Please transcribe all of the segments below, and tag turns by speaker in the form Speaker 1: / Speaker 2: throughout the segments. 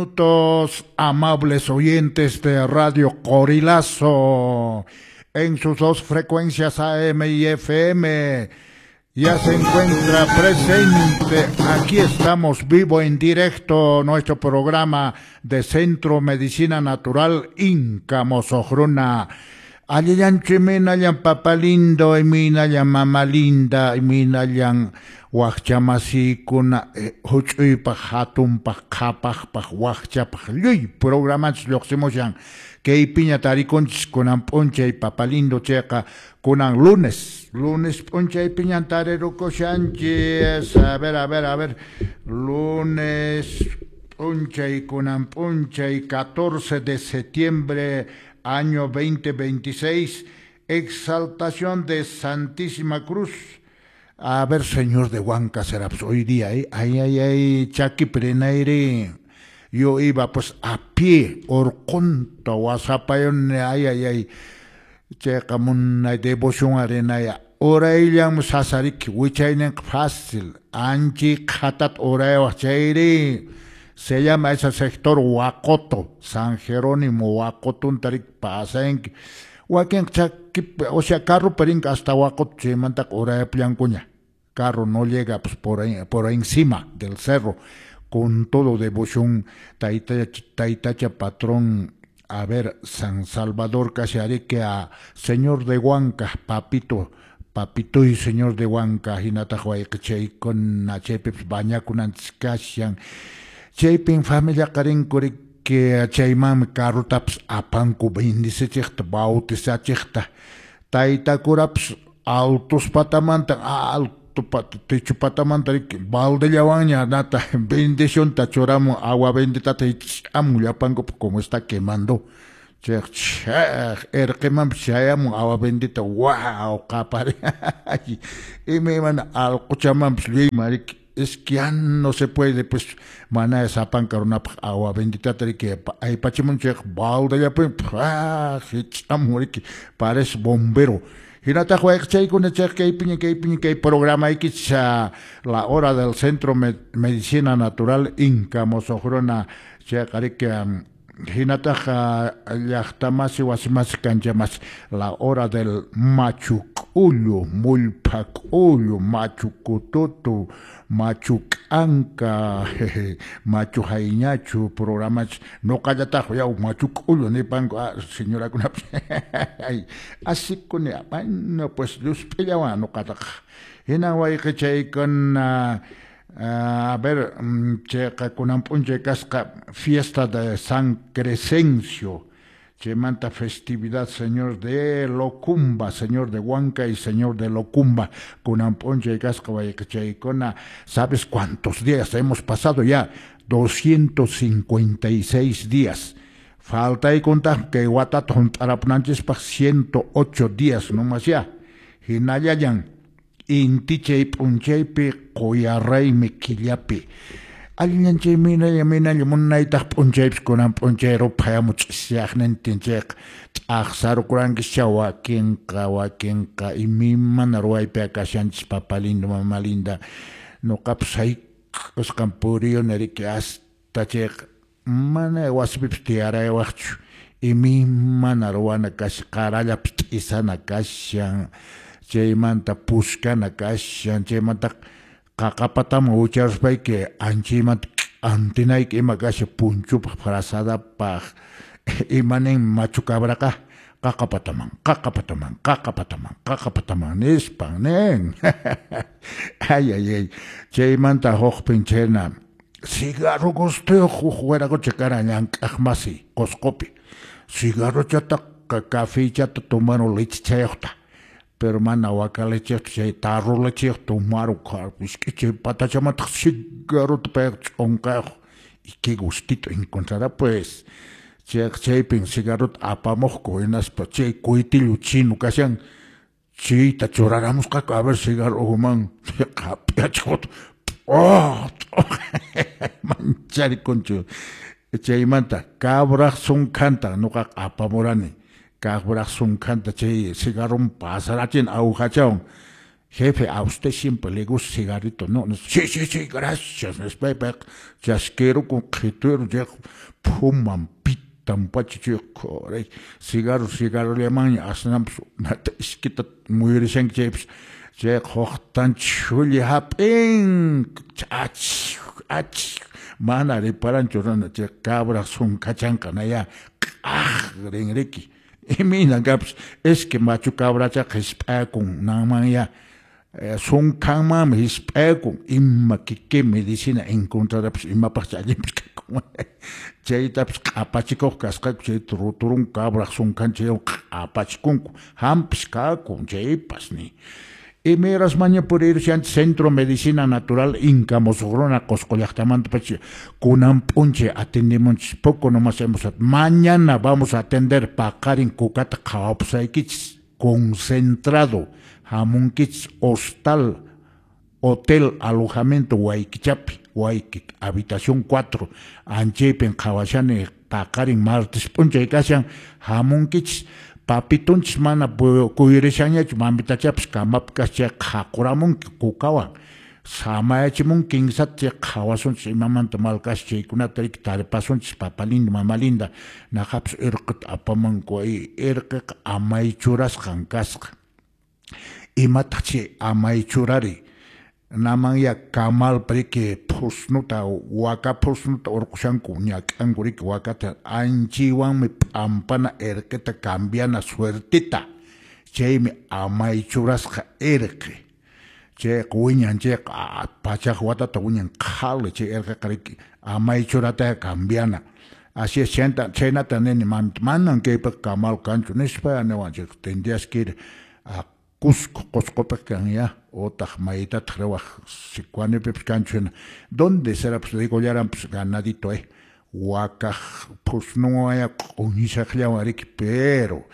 Speaker 1: Minutos, amables oyentes de Radio Corilazo, en sus dos frecuencias AM y FM. Ya se encuentra presente, aquí estamos vivo en directo, nuestro programa de Centro Medicina Natural Inca Mosojruna. Allillanchu imaynallan papa lindo, imaynallan mama linda, imaynallan wakchamasikuna huch'uypaq, hatunpaq, qhapaqpaq, wakchapaq, lluy programanchis lluqsimushan. Kaypiña tarikunchis kunan p'unchay papa lindo chayqa kunan lunes, lunes p'unchaypiñan tarirukushanchis. A ver, a ver, a ver, lunes p'unchay, kunan p'unchay, 14 de septiembre, año 2026, exaltación de Santísima Cruz. A ver, señor de Huanca será pues, hoy día, ¿eh? Ay, ay, ay, chaki prenaire. Yo iba pues a pie, orqunta, wasapayone, ay, ay, ay. Chayqa munay devoción arenaya. Urayllam sasariki, wichayninqa fácil. Anchi qhatat uraywaq chayri. Se llama ese sector Huacoto, San Jerónimo, Huacotuntarik pasanki. Wakin chaki, o sea, carro perinka hasta Huacoto, chaymantaqa urayapullankuña. Carro no llega pues, por, ahí, por encima del cerro, con todo devoción, taytacha, taytacha patrón, a ver, San Salvador Casiarique, a Señor de Huanca, papito, papito y Señor de Huanca, hinataq wayqichaykuna, chaypipas bañakunanchis kashan. Chaypin familiaqa rinku riki chaymanmi carrotapas apanku bendicichiqta, bautizachiqta. Tayta curapas altos patamanta, alto techo patamanta riki baldellawanña nata bendicionta churamun agua benditata hich'amun llapankupa como está quemando. Chayqa chaq erqimanpas chayamun agua bendita wow qapari imaymana allquchamanpas lluyman riki. Es que ya no se puede, pues, mana sapanka runapaq agua benditata riki aypachimun chayqa baldellapi hich'amun riki parece bombero. Hinataq wayqichaykuna chayqa kaypiña kaypiña kay programaykichis la hora del Centro Medicina Natural Inca Mosojruna chayqa riki hinataq llaqtamasi wasimasi kanchamasi la hora del machu k'ullu, mullpha k'ullu, machu kututu, machu k'anka, machu hayñachu programachis nuqallataq yaw machu k'ullu nipanku señorakunapas asikuni bueno pues llusp'illawan nuqataqa hinan wayqichaykuna. A ver, chayqa kunan p'unchay kasqa fiesta de San Crescencio, chaymanta festividad Señor de Locumba, Señor de Huanca y Señor de Locumba, kunan p'unchay kasqa wayqichaykuna. ¿Sabes cuántos días hemos pasado ya? 256 días. Faltaykuntaq kay watata hunt'arapunanchispaq 108 días nomas ya. Hinallallan intichay p'unchaypi quyaraymi killapi. Allillanchay minalla minalla munaytaq p'unchaypis kunan p'unchay ruphayamu ch'isiyaqnintin chayqa t'aqsarukurankicha wakinqa wakinqa imaymana ruwaypi kashanchis papa lindo mama linda. Nuqapas hayk'usqan puriyuni riki hasta chayqa mana wasipipis tiyaraywaqchu imaymana ruwana kashan qarallapis t'isana kashan chaymanta puskana kashan chaymanta qaqapataman wicharuspayki anchaymanta k'antinayki ima kashan punchupaq frazadapaq imanin machu cabraqa qaqapataman qaqapataman qaqapataman qaqapataman nispan nin. Ay ay ay chaymanta hukpin chayna cigarro gustuyuq huk wiraqucha karan llank'aqmasi Qusqupi cigarrochataqa cafeychata tomaron lechichayuqta pero mana waka lecheyuqta chay tarro lecheyuq tomaron isk'ichay patachamantaq cigarrota payqa ch'unqayuq y qué gustito encontrará pues chayqa chaypin cigarrota apamuqku hinaspa chay kuytillu chino kashan chayta churaramusqaku a ver cigarro uhuman hap'iachikutaq mancharikunchu chaymanta cabraq sunkhanta nuqaqa apamurani cabraq sunkhanta chay cigarron pasarachin awhachawan Jefe, a usted siempre le gusta cigarrito, ¿no? Sí, sí, sí, gracias. Nispaypaq chasquirukun qhituyru chayqa phuman pitan pacha chay cigarro cigarrollamanña asnanpas nata iskita muyurishanki chaypas chayqa huqtan chhulli hap'in ach ach mana reparanchu runa chay cabra sunkachanqa naya q'aq rinriki imaynan kapis es que machu cabrachaqa hisp'akun nanmanya sunkhanmanmi hisp'akun ima qué medicina encontrarapis imapaqcha allinpis kakun chaytapis q'apachikuq kasqaku chayta ruturun cabraq sunkhan chaywan q'apachikunku hampis kakun chaypas ni imayrasmaña purirushanchis Centro Medicina Natural Inca musuq runa Qusqu llaqtamanta pacha kunan p'unchay atendemunchis poco nomás hemos mañana vamos a atender paqarin kukata qhawapusaykichis concentrado hamunkichis hostal hotel alojamiento Waykichapi Wayki habitación 4 anchaypin qhawashani paqarin martes p'unchay kashan hamunkichis papitunchis mana kuyurishanñachu mamitachapas kamapi kashan chay qhaquramunki kukawan samayachimunki kinsata chay qhawasunchis imamanta mal kashan chaykunata riki taripasunchis papa lindo mama linda naqapis irqita apamunku irqiqa amaychurasqan kasqa imataq chay amaychurari namanya kamalpa riki phusnuta waka phusnuta urqushanku ñak'anku riki wakata anchaywanmi p'ampana irqita cambiana suertita chaymi amaychurasqa irqi chayqa wiñan chayqa pachaq watata wiñan qhali chay irqiqa riki amaychurata cambiana así es chhaynata nini manan kaypiqa kamal kanchu nispa niwan chay tendrías que ir a Cusco, Qusqupiq kan ya utaq maytataq riwaq Sicuanipipis kanchu hina ¿dónde será? Pues digollaranpas ganadito wakaq phusnunwanya q'uñishaqllawan riki pero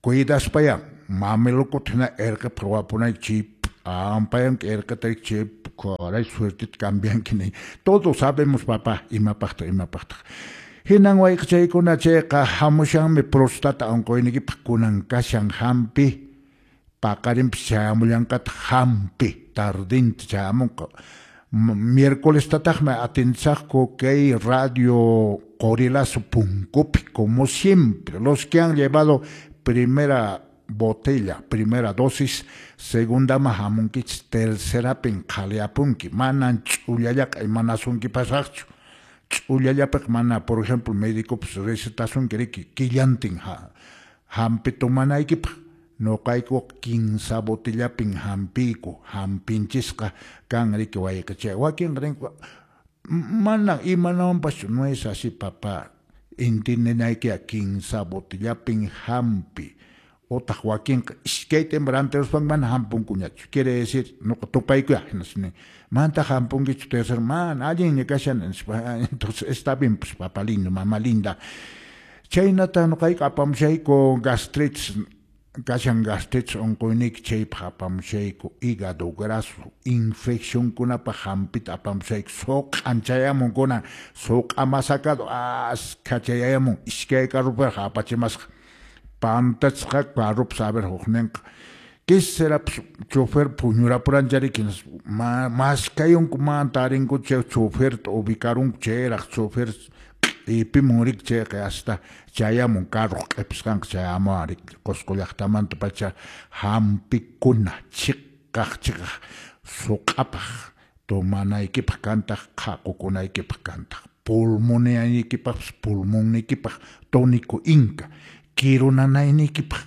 Speaker 1: cuidaspaya mamelukuta hina irqipaq ruwapunayki chay p'ampayanki irqita riki chay caray suertita cambianki ni todos sabemos papá imapaqtaq imapaqtaq hinan wayqichaykuna chayqa hamushanmi prostata unquyniykipaq kunan kashan hampi paqarinpis chayamullanqataq hampi tardinta chayamunqa miércoles tataqmi atendisaqku kay radio Qorilazo punkupi como siempre los que han llevado primera botella, primera dosis, segundaman hamunkichis tercerapin qhaliapunki manan ch'ullallaqa imanasunkipasaqchu ch'ullallapiqa mana por ejemplo médicopas recetasunki riki killantin hampi tomanaykipaq nuqaykuqa kinsa botellapin hampiyku hampinchisqa kan riki wayqichay wakinqa rinku mana imanawanpaschu no es así papá entiendenaykiqa kinsa botellapin hampi utaq wakinqa iskayta ima rantiruspanku mana hampunkuñachu quiere decir nuqa tupaykuya hinaspa manataq hampunkichu tercero mana allinña kashan nispa entonces está bien pues papá lindo mama linda chaynata nuqayku apamushayku gastritis kashan gastritis unquyniyki chaypaq apamushayku hígado graso infeccionkunapaq hampita apamushayku suq'an chayamun kunan suq'a masacado askha chayamun iskay carropiraq apachimasqa pantachisqa carropas a ver hukninqa ¿qué será? Pues chofer puñurapurancha riki maskayunku mana tarinkuchu chay choferta ubicarunku chayraq chofer q'ipimun riki chayqa hasta chayamun carroq q'ipisqanqa chayamuwan riki Qusqu llaqtamanta pacha hampikuna chiqaq chiqaq suq'apaq tomanaykipaq kantaq qhaqukunaykipaq kantaq pulmoniyaykipaqpas pulmonniykipaq tónico inca kirunanayniykipaq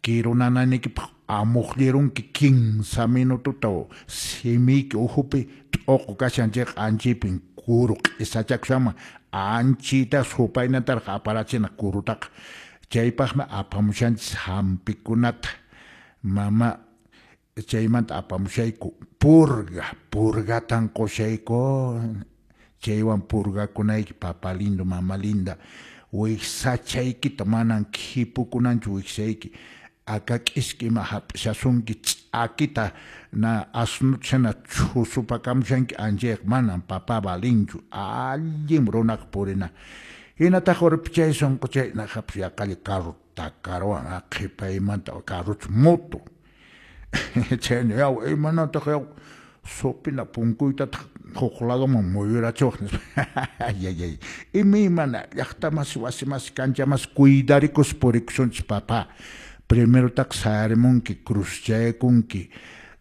Speaker 1: kirunanayniykipaq amuqllirunki 15 minutota simiyki ukhupi t'uqu kashan chayqa anchaypin kuru q'isachakushanman anchita supaynataraq aparachina kurutaqa chaypaqmi apamushanchis hampikunata mama chaymanta apamushayku purga purgatan qushayku chaywan purgakunayki papa lindo mama linda wiksachaykita manan khipukunanchu wiksayki akak'iski ima hap'ishasunki ch'akita na asnuta hina chhusupakamushanki anchayqa manan papa valinchu allin runaqa purina hinataq urpichay sunquchay naqapis yaqalla carro takaruwan qhipaymanta carrochu moto Chayna yaw, imanataq yaw, supina punkuytataq huk ladoman muyurachiwaq nispa. Ayayay. Imaymana llaqtamasi, wasimasi, kanchamasi cuidarikus purikusunchis papá. Primerotaq sayarimunki, cruzchaykunki,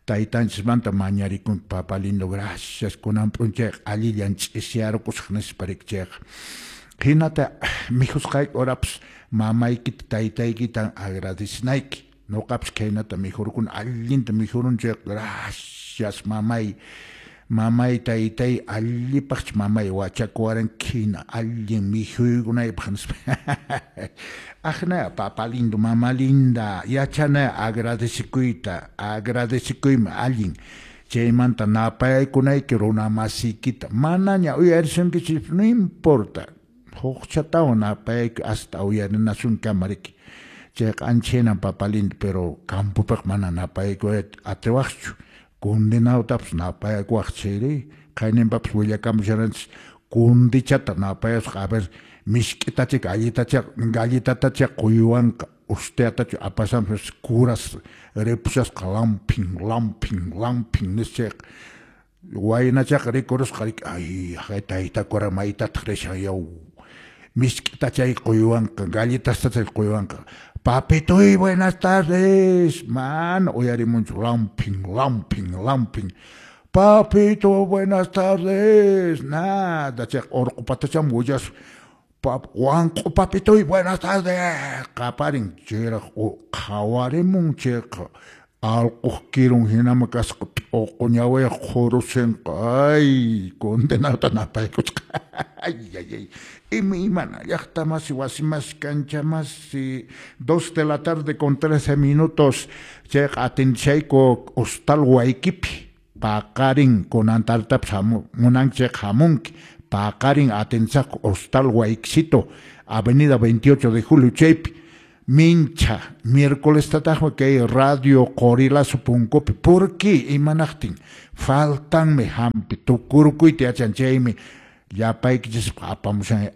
Speaker 1: taytanchismanta mañarikunki, papá lindo, gracias, kunan p'unchayqa allillan ch'isyarukusaq nispa riki chayqa. Hinata mikhusqayki horapas mamaykita taytaykitan agradecinayki. Noqapas khaynata mikhurukuni, allinta mikhuruni chayqa, gracias mamay, mamay taytay, allipaqchu mamay wachakuwaranki hina allin mikhuykunaypaq nispa. Aqna papa lindo, mama linda, yachana agradecekuyta, agradecekuymi allin. Chaymanta napaykunayki runa masiykita, manaña uyarisunkichis, no importa. Hukchatawan napayayku hasta uyarinasunkamariki. Riki. Chayqa ancha hinan papa lindo, pero campopiqa mana napaykuy atiwaqchu. Condenadotapas napaykuwaq chayri, qayninpapas willakamusharanchis kundichata napayasqa, a ver, misk'itacha galletacha galletatacha quywanqa ustiatachu apasanpas curas ripushasqa lampin lampin lampin nischayqa waynachaqa rikurusqa riki, ay haqay tayta cura maytataq rishan yaw, misk'itachay quywanqa galletastachay quywanqa, papitoy buenas tardes, mana uyarimunchu lampin lampin lampin, papito buenas tardes, nada, chayqa urqu patacham willasqa, wanq'u papitoy buenas tardes, qaparin chayraq qhawarimun chayqa allquq kirun hinama kasqa t'uqu ñawiyuq qhurusinqa, ay condenadota napaykusqa. Ay ay ay, imaymana llaqtamasi, wasimasi, kanchamasi, 2 de la tarde con 13 minutos, chayqa atendishayku hostal Waykipi, paqarin kunan tartapas munanki chayqa hamunki, paqarin atendisaqku hostal Waykisito, avenida 28 de Julio chaypi. Mincha, miércoles tataqmi kay Radio Qorilazo punkupi. ¿Por qué? Imanaqtin faltanmi hampi tukurukuyta yachan chaymi llapaykichis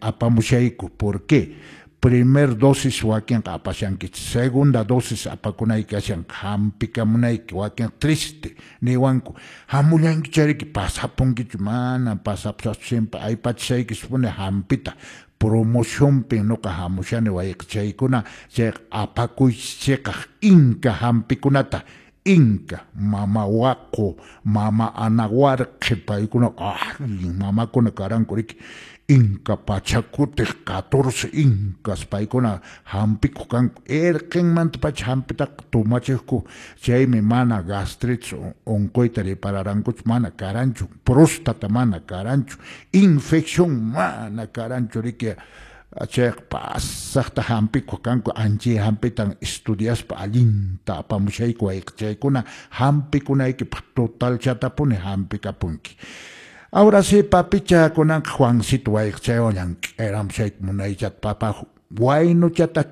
Speaker 1: apamushayku. ¿Por qué? Primer dosis wakinqa apashankichis, segunda dosis apakunayki kashan, hampikamunayki, wakin triste niwanku, hamullanki chariki pasapunkichu, mana pasapusaqchu, siempre aypachishaykipuni hampita. Promocionpi noqa hamushani wayqichaykuna, chayqa apakuychis chiqaq inka hampikunata, inka, mama waqu, mama anawarqi, paykuna allin mamakuna karanku riki, inka pachakutiq 14 inkas paykuna hampikuq kanku, erqinmantapacha hampitaqa tumachiqku, chaymi mana gastritis unquyta ripararankuchu, mana karanchu, próstata mana karanchu, infección mana karanchu riki, chayqa pasaqta hampikuq kanku, anchay hampitan estudiaspa allinta apamushayku wayqichaykuna, hampikunaykipaq totalchatapuni hampikapunki. Ahora sí, papicha kunanqa Juancito wayqichaywan llank'ayramushayku munaychata papa waynuchata.